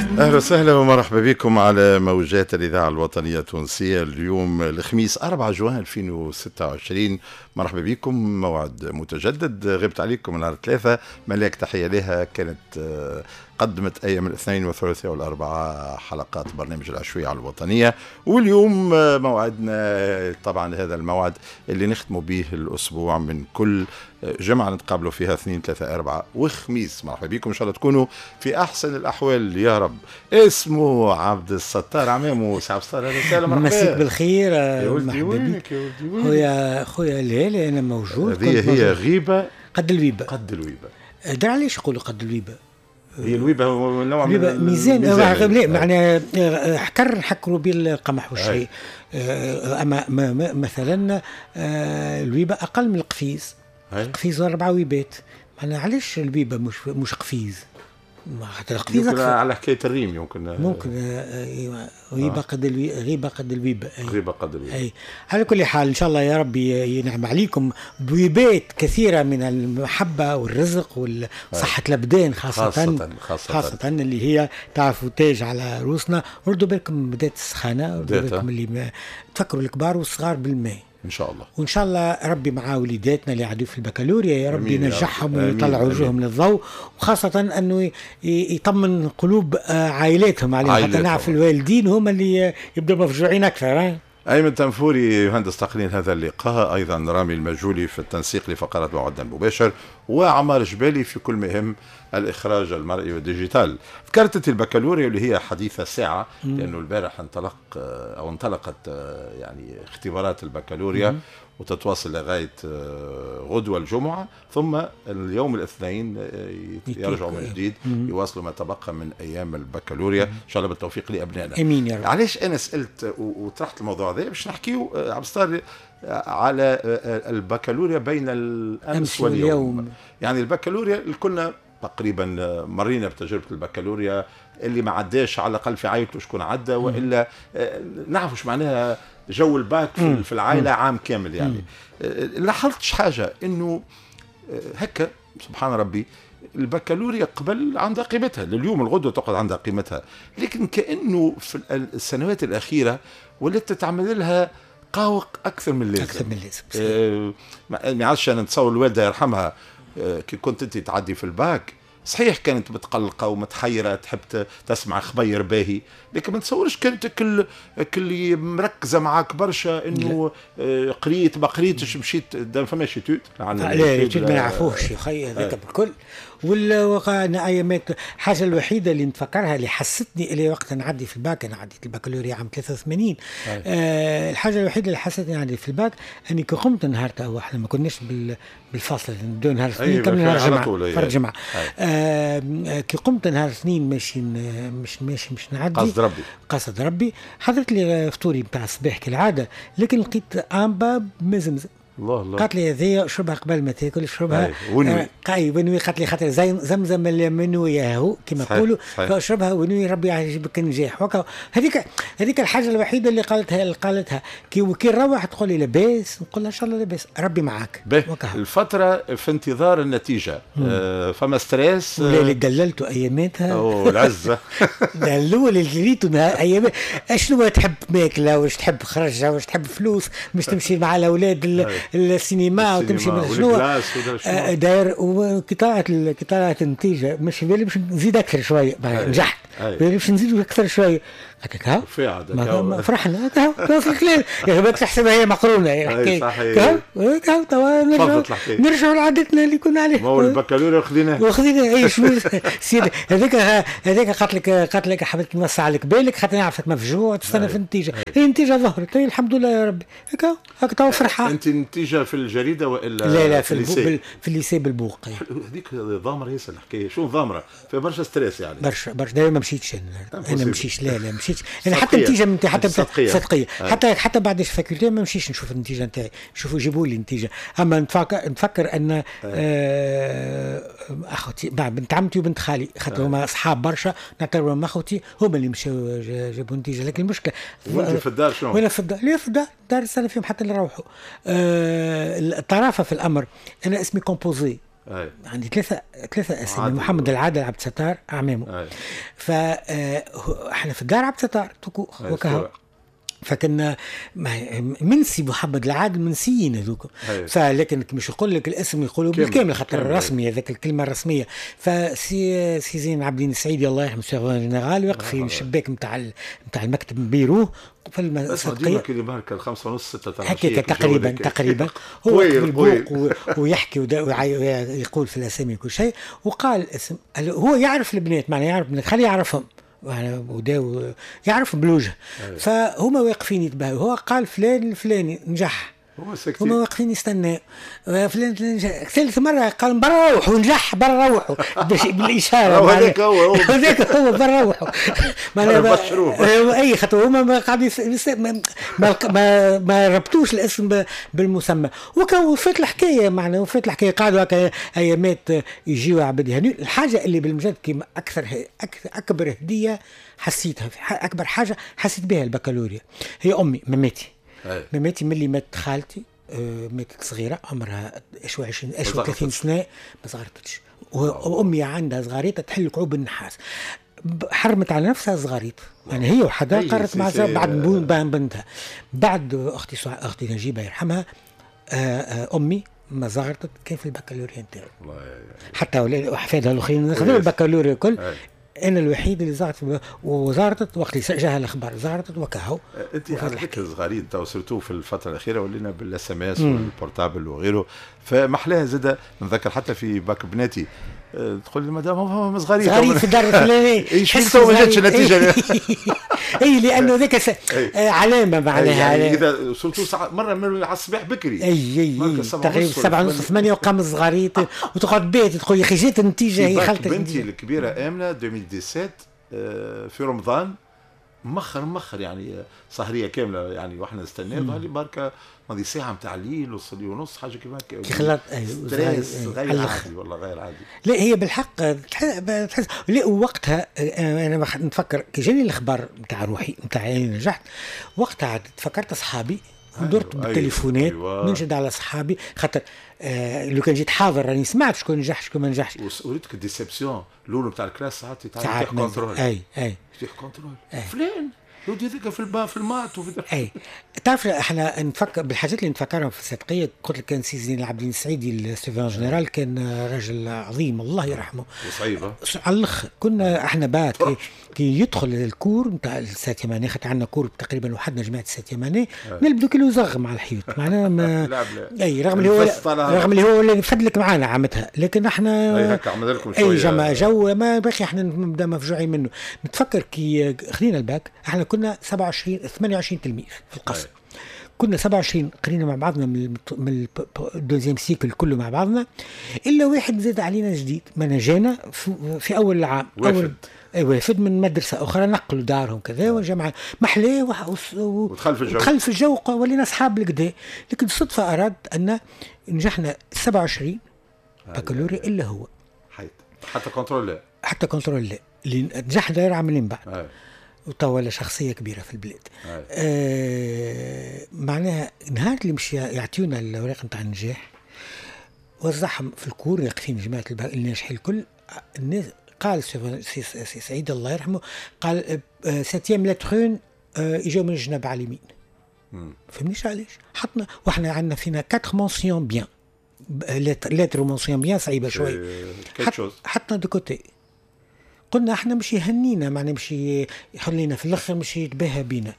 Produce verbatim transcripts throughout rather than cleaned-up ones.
اهلا وسهلا ومرحبا بكم على موجات الاذاعة الوطنية التونسيه. اليوم الخميس أربعة جوان ألفين وستة وعشرين، مرحبا بكم. موعد متجدد، غبت عليكم نهار ثلاثة، ملاك تحية لها كانت قدمت ايام الاثنين والثلاثاء والاربعاء حلقات برنامج العشوية على الوطنية، واليوم موعدنا طبعا هذا الموعد اللي نختم به الاسبوع من كل جمعة نتقابلوا فيها اثنين ثلاثة أربعة وخميس. مرحبا بكم، إن شاء الله تكونوا في أحسن الأحوال يا رب. اسمه عبد الستار عمامو، سي عبد الستار، أهلا وسهلا، مرحبا. مسيك بالخير. يا ولدي وينك يا ولدي وينك؟ خويا خويا لا أنا موجود. هذه هي غيبة قد الويبة. قد الويبة. درا علاش يقولوا قد الويبة؟ هي الويبة هو نوع من ميزان، لا معناها حكر نحكروا به القمح والشيء. أما مثلا الويبة أقل من القفيز. قفيز أربعة ويبات، معناها علاش الويبة مش مش قفيز؟ خاطر القفيز أكثر. على حكاية الريم يمكن ممكن غيبة قد الوي... غيبة قد الويبة. غيبة قد الويبة. أي على كل حال إن شاء الله يا ربي ينعم عليكم بويبات كثيرة من المحبة والرزق وصحة الأبدان خاصة خاصة, خاصة, خاصة اللي هي تعرفوا تاج على روسنا. ردوا بالكم بدات السخانة، ردوا بالكم اللي ما... تفكروا الكبار والصغار بالماء إن شاء الله. وإن شاء الله ربي مع وليداتنا اللي عادوا في البكالوريا يا ربي ينجحهم ويطلع وجوههم للضوء، وخاصة أنه يطمن قلوب عائلاتهم عليهم، حتى نعرف الوالدين هم اللي يبدوا مفجوعين أكثر. أيمن تنفوري يهندس تقنين هذا اللقاء، أيضا رامي المجولي في التنسيق لفقرات موعدنا المباشر، وعمار جبالي في كل مهم الإخراج المرئي وال digital. ذكرت البكالوريا اللي هي حديثة ساعة، لأنه البارح انطلق أو انطلقت يعني اختبارات البكالوريا. مم. وتتواصل لغاية غدوة الجمعة، ثم اليوم الاثنين يرجعوا من جديد يواصلوا ما تبقى من أيام البكالوريا. إن شاء الله بالتوفيق لأبنائنا. آمين يا رب. علاش أنا سألت وطرحت الموضوع هذا؟ باش نحكيو عبد الستار على البكالوريا بين الأمس واليوم. واليوم. يعني البكالوريا كنا تقريبا مرينا بتجربة البكالوريا، اللي ما عداش على الأقل في عائلته شكون عدى، وإلا نعرف شو معناها جو الباك في العائلة عام كامل. يعني لاحظتش حاجة إنه هكا سبحان ربي البكالوريا قبل عندها قيمتها، لليوم الغدوة تقعد عندها قيمتها، لكن كأنه في السنوات الأخيرة ولات تعمل لها قاوق أكثر من اللازم. أكثر من اللازم. آه ما عادش أنا نتصور الوالدة يرحمها كي كنت انت تعدي في الباك، صحيح كانت متقلقه ومتحيره تحب تسمع خبير باهي، لكن ما تصورش كانت كل كل مركزه معاك برشا انه قريت ما قريتش مشيت، ما فماش étude. لا étude ما نعرفوش يا خي هذاك بالكل. ولا وقعنا ايامات. الحاجة الوحيدة اللي نتفكرها اللي حستني اللي وقت نعدي في الباك، انا عديت البكالوريا عام ثلاثة وثمانين. آه الحاجة الوحيدة اللي حستني نعدي في الباك اني كي قمت نهار، توا احنا ما كناش بالفاصل نبداو نهار الاثنين كمل نهار الجمعة فرد جمعه. آه كي قمت نهار الاثنين ماشي مش ماشي مش نعدي قصد ربي قصد ربي حضرت لي فطوري نتاع الصباح كالعادة، لكن لقيت امبا مزمزه. الله الله. قالت لي هذه شربها قبل ما تاكل، شربها ونوي. قاي ونوي. قالت لي خاطر زي زمزم المنوي هو كما يقولوا، فاشربها ونوي ربي يعجبك النجاح. هذيك هذيك الحاجة الوحيدة اللي قالتها اللي قالتها كي كي نروح تقول لي لاباس، نقول لها ان شاء الله لاباس ربي معاك. الفترة في انتظار النتيجة آه فما stress. ولا اللي دللته اياماتها او العزة. الاول اللي ريته ايامات اشنو تحب ماكله، واش تحب خرجه، واش تحب فلوس، مش تمشي مع الاولاد السينما وتمشي من شنو داير. وكي طلعت كي طلعت النتيجة مش في بالي باش نزيد اكثر شوية، نجحت باش نزيد اكثر شوية. هكاك ها فرحنا هكا وصل الكلام يا بالك تحسبها هي مقرونة الحكاية. هكا توا نرجعوا نرجعوا لعادتنا اللي كنا عليها. ما هو البكالوريا خذيناه وخذيناه. اي شنو سيدي هذاك هذاك قالت لك قالت لك حبيت نوسع لك بالك خاطر نعرفك مفجوع تستنى في النتيجة. هي النتيجة ظهرت الحمد لله يا ربي. هكا هكا توا فرحه. انت النتيجة في الجريدة والا لا لا في في ال lycée بالبوق. هذيك ضامره ياسر الحكاية. شو ضامره؟ فيها برشا stress يعني. برشا برشا. دايما ما مشيتش انا انا مشيتش. لا لا مشيتش انا حتى النتيجة نتاعي حتى صدقيه حتى حتى بعد ال faculté ما مشيتش نشوف النتيجة نتاعي، شوفوا جيبوا لي النتيجة. اما نتفكر نتفكر ان آه اخوتي بنت عمتي وبنت خالي خاطر هما اصحاب برشا نعتبرهم اخوتي، هما اللي مشاو جابوا النتيجة. لكن المشكلة وانت في الدار شنو؟ وانا في الدار لا في الدار دار السنة فيهم حتى اللي روحوا. آه الطرافه في الامر انا اسمي composé. أي. عندي ثلاثة ثلاثة اسامي، محمد العادل عبد الستار اعمامه. فاحنا في الدار عبد الستار tout court وكهو، فكنا منسي محمد العادل منسيين هذوك. فلكن مش يقول لك الاسم يقولوا بالكامل خاطر الرسمي هذاك الكلمة الرسمية. فسي سي زين العابدين السعيدي الله يرحمه surveillant général واقف في الشباك نتاع نتاع المكتب بيروه في السبقيه كي ماركة الخمسة ونص ستة هكاك تقريبا تقريبا هو بالبوق ويحكي ويقول في الاسامي كل شيء، وقال اسم هو يعرف البنات، معناها يعرف البنات خليه يعرفهم وداو يعرف بالوجه. فهما واقفين يتباهوا، هو قال فلان الفلاني نجح، هما واقفين يستناو فلان نجح. ثالث مرة قال برا روحوا نجح، برا روحوا بالإشارة هذاك هو هذاك هو برا روحوا اي خاطر هما قاعدين ما ما ما ربطوش الاسم بالمسمى. وفات الحكاية معناها وفات الحكاية، قعدوا هكا ايامات يجيو عباد يهنيو. الحاجة اللي بالمجد كيما اكثر اكبر هدية حسيتها، اكبر حاجة حسيت بها البكالوريا هي امي مماتي. مماتي ملي مات خالتي، ماتت صغيرة عمرها اش عشرين اش ثلاثين سنة، ما صغرتش. وامي عندها صغاريته تحل كعوب النحاس، حرمت على نفسها صغاريت، يعني هي وحدها قررت مع بعد بنتها. بعد اختي اختي نجيبه يرحمها، امي ما زغرتت كان في البكالوريا نتاعي، حتى احفادها الاخرين خذوا البكالوريا الكل. انا الوحيد اللي زغرت، وزغرتت وقت اللي جاها الاخبار زغرتت وكهو. انت على ذكر الصغارين تو surtout في الفترة الاخيرة ولينا بال SMS وال portable وغيره، فمحلاها زاد نذكر حتى في باك بناتي تقول لي مدام هم صغارين صغارين في الدار الفلانية، ايش تو ما جاتش النتيجة. اي لانه ذاك علامة معناها، يعني اذا surtout مرة من على الصباح بكري، اي اي تقريبا سبعة ونص ثمانية وقام الصغاريت وتقعد بيت تقول يا اخي جات النتيجة هي خلطت. بنتي الكبيرة امنه ألفين وسبعطاش في رمضان مخر مخر يعني سهريه كاملة يعني واحنا نستناو، ظهر لي بركة ماضي ساعة نتاع الليل وصلي ونص حاجة كيما هكا كي خلط stress غير عادي والله غير عادي. لا هي بالحق تحس لا. وقتها انا نتفكر كي جاني الاخبار نتاع روحي نتاع اني نجحت، وقتها تفكرت اصحابي ودرت أيوة بالتليفونات أيوة. ننشد على اصحابي خاطر آه لو كان جيت حاضر راني سمعت شكون نجح شكون ما نجحش. وريتك ال déception الاولى نتاع ال classe ساعات يطيح contrôle. اي اي يطيح contrôle فلان لو هذاك في البا في ال maths وفي اي. تعرف احنا نفكر بالحاجات اللي نتفكرهم في الصدقيه. قلت لك كان سي زين العابدين السعيدي ال surveillant général كان رجل عظيم الله يرحمه وصعيبه على الاخر. كنا احنا باك كي, كي يدخل ال cours نتاع ال septième année، خاطر عندنا cours تقريبا وحدنا جماعة ال septième année نلبدو كيلو زغ على الحيط معناها ما اي رغم اللي هو رغم اللي هو اللي فدلك معانا عامتها، لكن احنا اي هكا عمل لكم شوية اي جماعة جو ما باقي احنا نبدا مفجوعين منه. نتفكر كي خذينا الباك احنا كنا سبعة وعشرين ثمانية وعشرين تلميذ في القسم، كنا سبعة وعشرين قرينا مع بعضنا من من ال deuxième cycle كله مع بعضنا، الا واحد زاد علينا جديد ما جانا في, في اول العام وافد. اول وافد من مدرسه اخرى نقلوا دارهم كذا وجماعه محلاه ودخل في الجو ودخل في الجو ولينا اصحاب الكدا. لكن الصدفة اراد ان نجحنا سبعة وعشرين بكالوريا الا هو حيت حتى contrôle لا حتى contrôle لا اللي نجح داير عاملين بعد وتوا شخصية كبيرة في البلاد. آه معناها نهار اللي مش يعطيونا الأوراق نتاع النجاح وزعهم في ال cour واقفين جماعة الناجحين الكل. الناس قال سي, سي سعيد الله يرحمه قال septième lettre une اجاو من الجنب على اليمين. فهمنيش علاش حطنا واحنا عندنا فينا quatre mentions bien lettre mention bien صعيبة شوي حط حطنا de côté. قلنا احنا مش يهنينا معناها مش يخلينا في الاخر مش يتباهى بينا.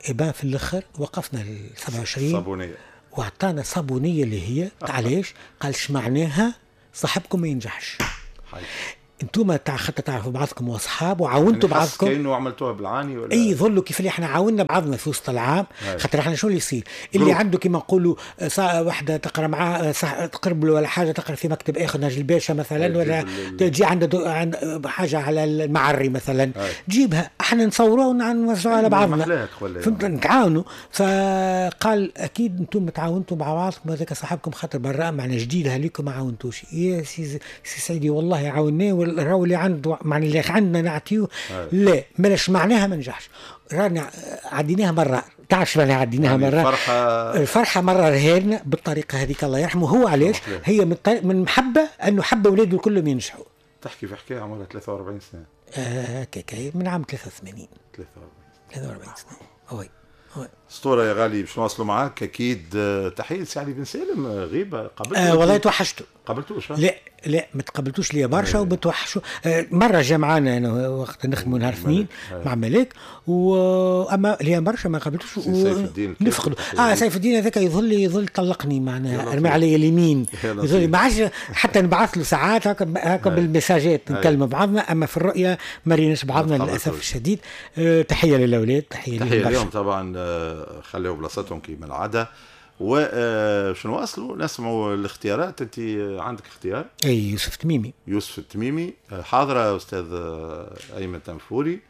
eh ben في الاخر وقفنا ال سبعة وعشرين صابونيه واعطانا صابونيه اللي هي علاش قال اش معناها صاحبكم ما ينجحش. انتم تاع خاطر تعرفوا بعضكم واصحاب وعاونتوا يعني بعضكم كانه عملتوها بالعاني ولا اي ظلوا كيف اللي احنا عاوننا بعضنا في وسط العام. خاطر احنا شو اللي يصير اللي عنده كيما نقولوا واحدة تقرا معاه تقرب له ولا حاجة تقرا في مكتب اخر ناجي الباشا مثلا ولا تجي عنده عند حاجة على المعري مثلا تجيبها احنا نصوروها ونوزعوها على بعضنا فهمت نتعاونوا. فقال اكيد انتم تعاونتوا مع بعضكم هذاك صاحبكم خاطر براء معنا جديد هليكم ما عاونتوش. يا سي سي سيدي والله عاوناه راهو اللي عنده معناها اللي عندنا نعطيه. لا مالاش معناها ما نجحش، رانا عديناها مرة، تعرف معناها عديناها يعني مرة الفرحة الفرحة مرة رهالنا بالطريقة هذيك الله يرحمه. هو علاش؟ هي من, طريق من محبة انه حب اولاده كلهم ينجحوا. تحكي في حكاية عمرها ثلاثة وأربعين سنة. آه هكاك من عام ثلاثة وثمانين. ثلاثة وأربعين ثلاثة وأربعين سنة. oui oui. اسطورة يا غالي، باش نواصلوا معاك اكيد. تحية لسي علي بن سالم، غيبه قابلته. آه والله توحشته. قابلتوش؟ لا لا ما تقابلتوش ليا برشا وبتوحشوا. آه مرة جا معانا انا وقت نخدموا نهار اثنين مع ملاك، واما ليا برشا ما قابلتوش. سيف الدين نفقدوا. اه سيف الدين هذاك يظل يظل طلقني معناها، رمي علي اليمين، يظل ما عادش حتى نبعث له ساعات هكا هكا بالمساجات نكلموا بعضنا، اما في الرؤية ما ريناش بعضنا للاسف الشديد. آه تحية للاولاد، تحية تحية لهم طبعا، خليوا بلاصتهم كيما العادة. وش نواصلوا نسمعوا الاختيارات. انت عندك اختيار؟ اي يوسف التميمي. يوسف التميمي حاضره استاذ ايمن تنفوري.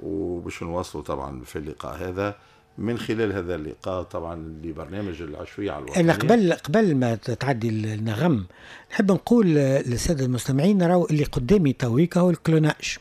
وباش نواصلوا طبعا في اللقاء هذا، من خلال هذا اللقاء طبعا لبرنامج العشوية على الوطنية. انا قبل قبل ما تعدي النغم نحب نقول للسادة المستمعين راهو اللي قدامي تويكا هو ال clonage،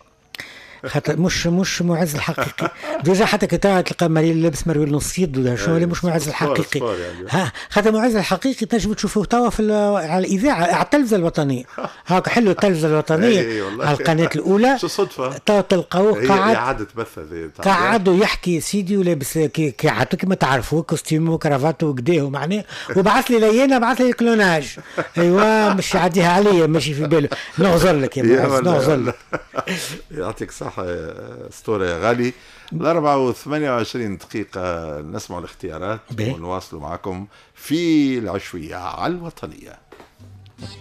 خاطر مش مش معز الحقيقي. déjà حتى كي تلقى مريل لابس مريول نص يد ولا شنو، مش معز الحقيقي. ها خاطر معز الحقيقي تنجم تشوفوه توا في على الاذاعة، على التلفزة الوطنية. هاك حلو التلفزة الوطنية على القناة الاولى. شو صدفة توا تلقاوه قاعد اعاده بث، قاعد ويحكي سيدي ولابس كي عادته كيما تعرفوه، costume و cravate وكداه معناه، وبعث لي لينا بعث لي clonage. ايوا مش يعديها عليا، ماشي في باله. نغزر لك يا معز، نغزر لك. يعطيك الصحة اسطورة يا غالي. الأربعة وثمانية وعشرين دقيقة نسمع الاختيارات ونواصلوا معكم في العشوية على الوطنية.